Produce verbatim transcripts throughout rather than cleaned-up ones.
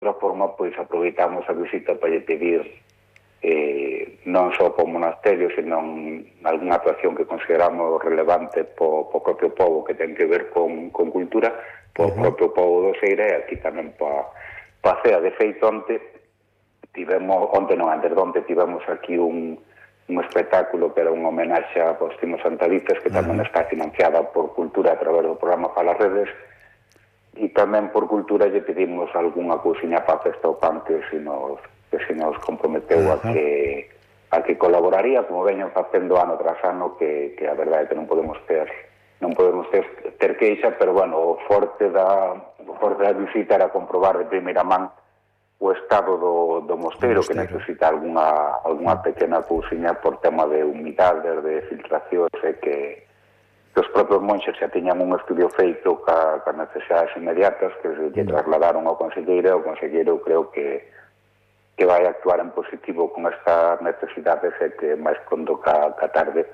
outra forma, pois aproveitamos a visita para lle pedir eh, non só para o monasterio, senón algunha actuación que consideramos relevante po, po propio povo que ten que ver con, con cultura, po uh-huh. propio povo do Seira, e aquí tamén pa, pa cea. De feito, onte tivemos, onte non, antes de onte tivemos aquí un, un espectáculo que era unha homenaxe a Faustino Santalices, que tamén uh-huh. está financiada por Cultura a través do programa Para as Redes, e tamén por Cultura lle pedimos algunha cousiña para a Festa ao Pan que se nos que se nos comprometeu uh-huh. a que a que colaboraría, como veñen facendo ano tras ano, que, que a verdade é que non podemos ter non podemos ter, ter queixa, pero bueno, o forte da o forte da visita era comprobar de primeira man o estado do, do mosteiro, que necesita algunha, algunha pequena cousiña por tema de humidade, de filtracións, e que, que os propios monxes xa tiñan un estudio feito ca, ca necesidades inmediatas que se lle trasladaron ao conselleiro, e o conselleiro creo que que vai actuar en positivo con estas necesidades, e que máis condo ca, ca tarde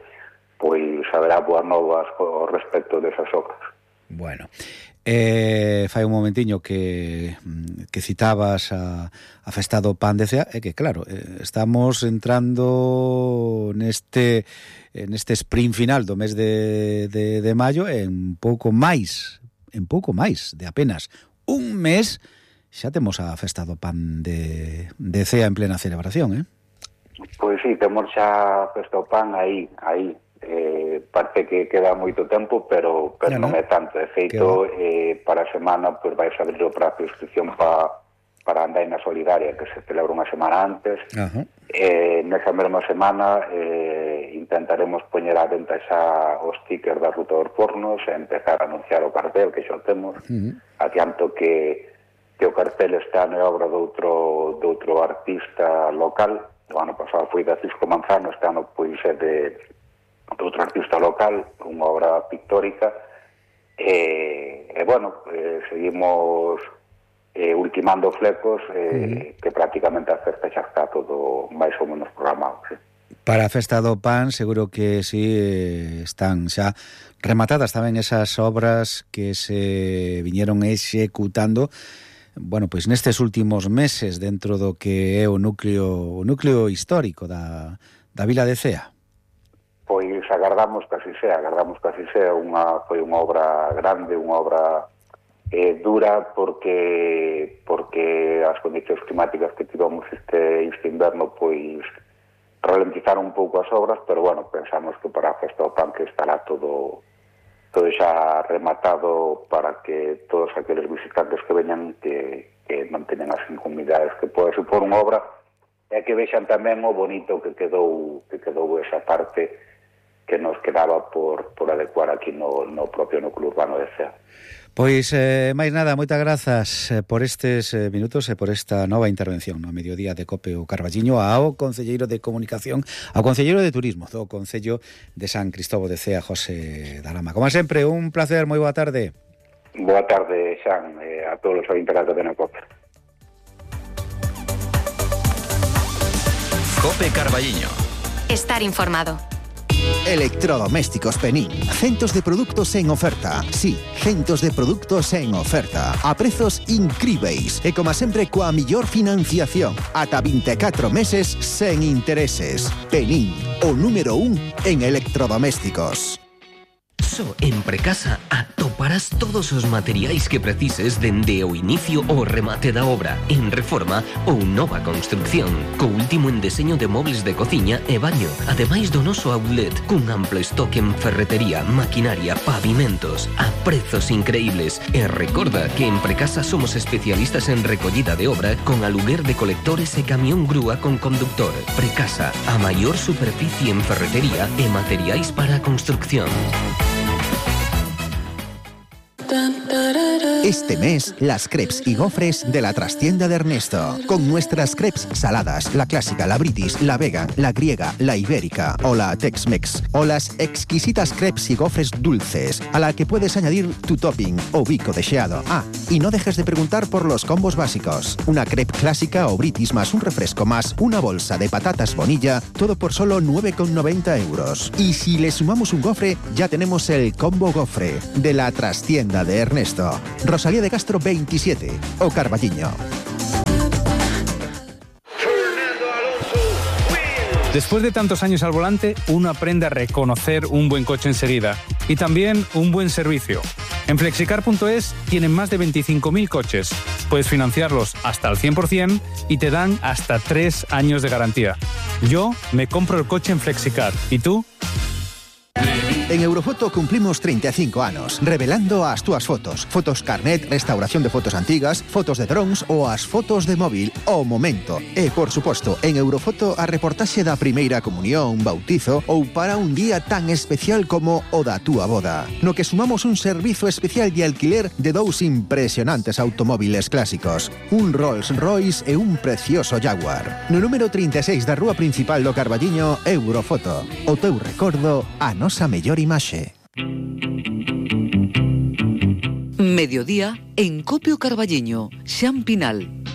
pois haberá boas novas ao respecto desas obras. Bueno, eh, fai un momentiño que, que citabas a, a Festa do Pan de Cea, e que claro, eh, estamos entrando neste neste sprint final do mes de, de, de maio, en pouco máis, en pouco máis de apenas un mes. Xa temos a Festa do Pan de, de Cea en plena celebración, eh? Pois sí, temos xa a Festa do Pan aí, aí. Eh, parte que queda moito tempo, pero, pero no, non no. é tanto. De feito, eh, para a semana pues, vais a abrir o prazo de inscripción pa, para a Andaina Solidaria, que se celebra unha semana antes. Uh-huh. Eh, nesa mesma semana eh, intentaremos poñer a venta xa os stickers da Ruta dos Fornos e empezar a anunciar o cartel, que xa o temos. Uh-huh. Adianto que que o cartel está na obra de outro, de outro artista local. O ano pasado foi de Cisco Manzano, este ano pois é de, de outro artista local, unha obra pictórica. E, e bueno, eh, seguimos eh, ultimando flecos, eh, mm. que prácticamente a festa xa está todo máis ou menos programado, sí. Para a Festa do Pan seguro que sí están xa rematadas tamén esas obras que se viñeron executando, bueno, pois nestes últimos meses dentro do que é o núcleo o núcleo histórico da, da vila de Cea. Pois agardamos que así sea, agardamos que así sea. Unha, foi unha obra grande, unha obra eh, dura, porque porque as condicións climáticas que tivemos este, este inverno pois ralentizaron un pouco as obras, pero bueno, pensamos que para a Festa do Pan que estará todo todo xa rematado para que todos aqueles visitantes que veñan que, que non teñan as incomodidades que pode supor unha obra, e que vexan tamén o bonito que quedou que quedou esa parte que nos quedaba por, por adecuar aquí no, no propio núcleo urbano de Cea. Pois, eh, máis nada, moitas grazas por estes eh, minutos e por esta nova intervención no mediodía de Cope o Carballiño ao concelleiro de Comunicación, ao concelleiro de Turismo do Concello de San Cristóbal de Cea, José Dalama. Como sempre, un placer, moi boa tarde. Boa tarde, Xan, eh, a todos os ointes de Cope. Cope Carballiño. Estar informado. Electrodomésticos Penín. Centos de produtos en oferta. Sí, centos de produtos en oferta. A prezos incríveis. E como sempre, coa millor financiación. Ata vinte e catro meses sen intereses. Penín, o número un en electrodomésticos. Só en Precasa atoparás todos os materiais que precises dende o inicio ao remate da obra, en reforma ou nova construcción, co último en deseño de mobles de cociña e baño, ademais do noso outlet, cun amplo estoque en ferretería, maquinaria, pavimentos, a prezos increíbles. E recorda que en Precasa somos especialistas en recollida de obra con aluguer de colectores e camión grúa con conductor. Precasa, a maior superficie en ferretería e materiais para a construcción. Este mes, las crepes y gofres de la trastienda de Ernesto. Con nuestras crepes saladas, la clásica, la british, la vegan, la griega, la ibérica o la Tex-Mex. O las exquisitas crepes y gofres dulces, a la que puedes añadir tu topping o bico deseado. Ah, y no dejes de preguntar por los combos básicos. Una crepe clásica o british más un refresco más una bolsa de patatas Bonilla, todo por solo nueve con noventa euros. Y si le sumamos un gofre, ya tenemos el combo gofre de la trastienda de Ernesto. Rosalía de Castro veintisiete, o Carballiño. Después de tantos años al volante, uno aprende a reconocer un buen coche enseguida y también un buen servicio. En flexicar punto es tienen más de veinticinco mil coches. Puedes financiarlos hasta al cien por ciento y te dan hasta tres años de garantía. Yo me compro el coche en Flexicar. ¿Y tú? En Eurofoto cumplimos treinta e cinco anos, revelando as túas fotos. Fotos carnet, restauración de fotos antigas, fotos de drones ou as fotos de móvil ao momento. E, por suposto, en Eurofoto a reportaxe da primeira comunión, bautizo ou para un día tan especial como o da túa boda. No que sumamos un servizo especial de alquiler de dous impresionantes automóviles clásicos. Un Rolls Royce e un precioso Jaguar. No número trinta e seis da rúa principal do Carballiño, Eurofoto. O teu recordo, a nosa mellor imaxe. Mediodía en Copio Carballiño, Xan Pinal.